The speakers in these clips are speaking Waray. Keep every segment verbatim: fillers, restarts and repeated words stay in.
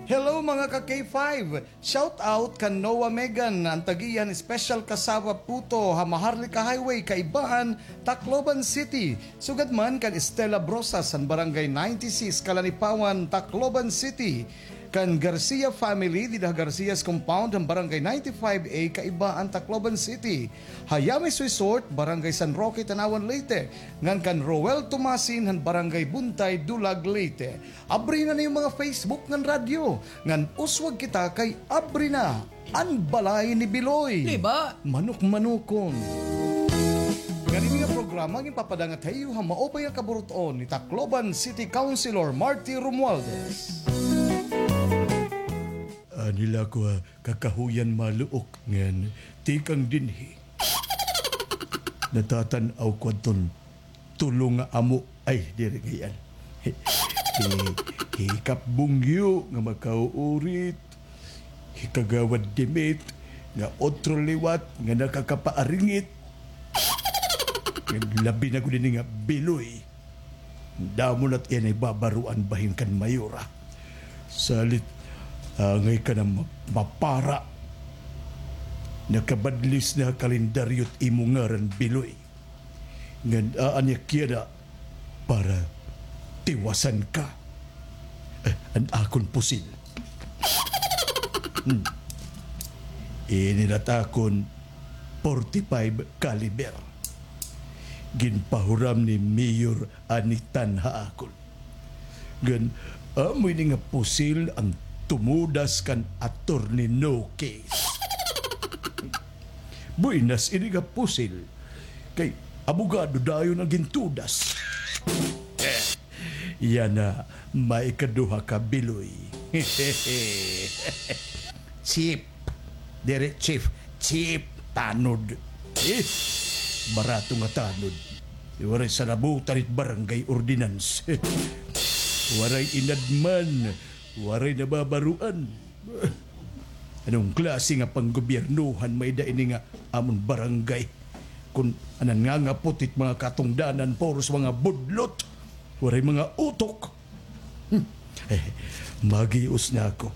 Hello, mga ka K five! Shout out kan Noah Megan, an tag-iya han Special Cassava Puto ha Maharlika Highway, Kaibaan, Tacloban City. Sugad man kan Estela Brosas han Barangay ninety-six, Kalanipawan, Tacloban City. Kan Garcia family dida ha Garcia's Compound han Barangay ninety-five A, Kaibaan, Tacloban City. Hayamis Resort, Barangay San Roque, Tanauan, Leyte. Ngan kan Roel Tomasin han Barangay Buntay, Dulag, Leyte. Abri na niyo mga Facebook ngan radyo, ngan uswag kita kay abri na an balay ni Biloy. Di ba? Manok-manokon. Ngan ini nga programa ginpapadangat ha iyo ha maupay nga kaburut-on ni Tacloban City Councilor Marty Romualdez. Anila ko, ah, kakahuyan maluok ngan tikang dinhi. Natatan-aw ko adton tulo nga amo. Ay, diri ngay-an. Hi-, hi-, hikap bungyo nga makauurit, hikagawad dimit nga otro liwat nga nakakapaaringit. Ngan labi na gud ini nga Biloy. Damo na't iya nahibabaroan bahin kan mayora. Salit, angay ka na ma-, mapara. Nakabadlis na ha kalendaryo't imo ngaran, Biloy. Ngan aanyakya na para tiwasan ka. Eh, an akon pusil. Hmm. Ini na't akon forty-five caliber. Ginpahuram ni Mayor Anitan ha akon. Ngan amo ini nga pusil an tumudas kan Attorney No Case. Buenas ini nga pusil. Kay abogado dayon an gintudas. Yana, may ikaduha ka, Biloy. Chief. Diri chief. Chief tanod. Eh, barato nga tanod. Waray sanabutan it barangay ordinance. Waray inadman. Waray nababaroan. Anong klase nga panggobyernohan may-ada ini nga amon barangay? Kun an nangangapot it mga katungdanan, puros mga budlot, waray mga utok. Hmm. Eh, maghios na ako.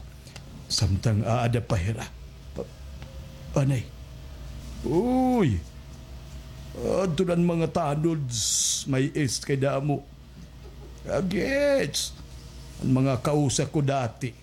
Samtang aada pa hira. Anay. Uy. Adto na an mga tanods, may est kay damo. Agits. An mga kausa ko dati.